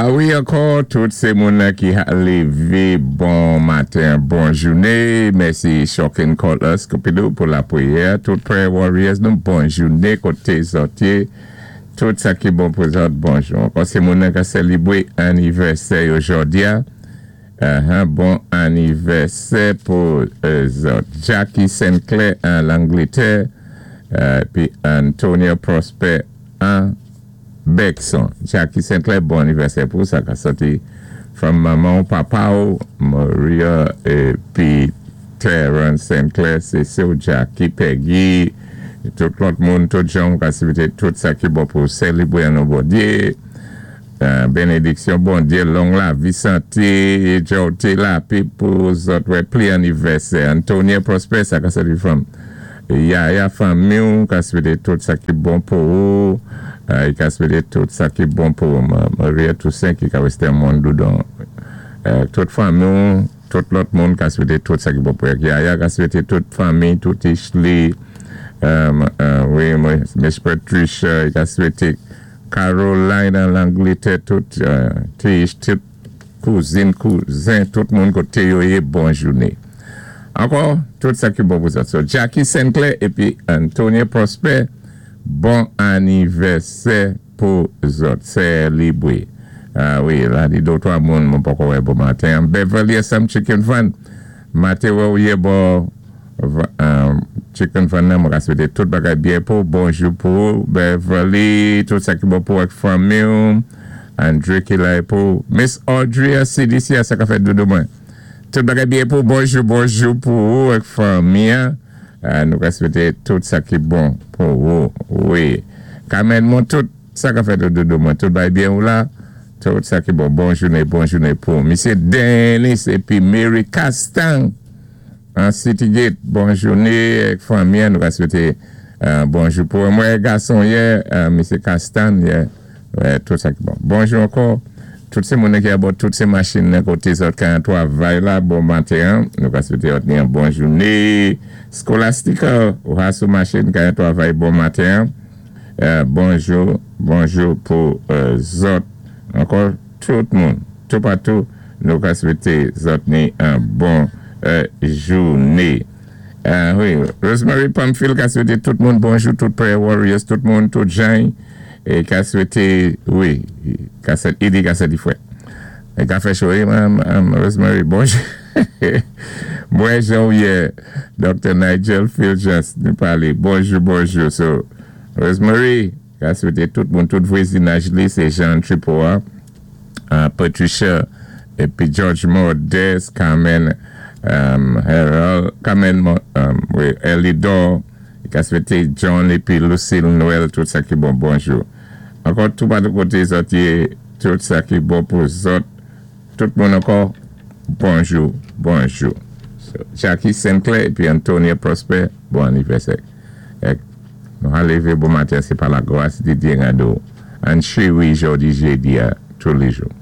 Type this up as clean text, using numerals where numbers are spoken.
A wi, ankò, tout sé moun ki ka lévé, bon maten, bon jouné. Mèsi Shocking Cutlass Cupidou pou lapriyè. Tout prayer warriors nou, bon jouné, koté zòt yé. Tout sa ki bon pou zòt, bonjou. Ankò sé moun ki sélébwé anivèsè yo jòdi a. Bon anivèsè pou zòt. Jackie Sinclair an Langlétè, pi Antonio Prosper an Bexon. Jackie Sinclair, bon anivèsè pou sa ka sòti from manman, papa ou, Maria épi Terence Sinclair, sé sè Jackie, Peggy, tout lòt moun, tout jan ka swété tout sa ki bon pou sélébwé an Bondyé. Bénédiksyon Bondyé, long lavi, santé, jòté, lapè pou zòt, wè, pli anivèsè. Antonio Prosper, sa ka sòti from Yaya fanmi, ka swété tout sa ki bon pou ou, i ka swété tout sa ki bon pou Maria Toussaint ki ka wèstè moun doudon. Tout fanmi, tout lòt moun ka swété tout sa ki bon pou Yaya ka swété tout fanmi, tout Ishli, wi, Miss Patricia, ka swété Caroline an Langlétè, tout Tish, tout kouzin, kouzen, tout moun koté yo yé, bon jouné. Ankò, tout sa ki bon pou sa. So, Jackie Sinclair épi Antonio Prosper, bon anivèsè pou zòt. Sélébré. A wi, la di dé twa moun, mwen poko wè bon maten. Beverly Some Chicken Fun. Maten wè ou yé bon Chicken Fun nan, mwen ka swété tout bagay byen pou, bonjou pou Beverly, tout sa ki bon pou ak fanmi, Andre ki la pou Miss Audrey a CDC a sa ka fè doudou mwen. Tout bagay byen pou, bonjou, bonjou pou ou ak fanmi. Nou ka swété tout sa ki bon pou ou. Wi. Carmen, mwen tout sa ka fè doudou mwen, tout bagay byen ou la. Tout sa ki bon, bon jouné, bon jouné pou Misye Dennis épi Mary Castang an City Gate, bon jouné ak fanmi, nou ka swété bonjou pou mwen gason yé, Misye Castang yé, wè, tout sa ki bon. Bonjou ankò, tout sé moun ki abò tout sé machin nan koté zòt ka twavay la, bon maten, nou ka swété ni yon bon jouné. Scholastica, ou ha sou machin ka twavay, bon maten. Bonjou, bonjou pou zòt. Ankò, tout moun, tout patou, nou ka swété zòt ni yon bon jouné. Wi, Rosemary Pamphile ka swété tout moun bonjou, tout prayer warriors, tout moun, tout jan, é ka swété, wi, ka swété, i di ka swété fwèt. É ka fè cho, Rosemary, bonjou. Mwen jan yé, Dr. Nigel Fulgence, nou palé, bonjou, bonjou. So, Rosemary, ka swété tout moun, tout vwazinaj li, sé Jean Tripoa, Patricia, épi George Modeste, Carmen Harold, Carmen, wi, Elidor, ka swété John épi Lucille Noël, tout sa ki bon, bonjou. Ankò, tout patou koté zòt yé, tout sa ki bon pou zòt, tout moun ankò, bonjou, bonjou. So, Jackie Sinclair épi Antonio Prosper, bon anivèsè. É, nou ka lévé bon maten, sé pa lagras di Dye Rando. An cheri jòdi jédi a, tous les jours.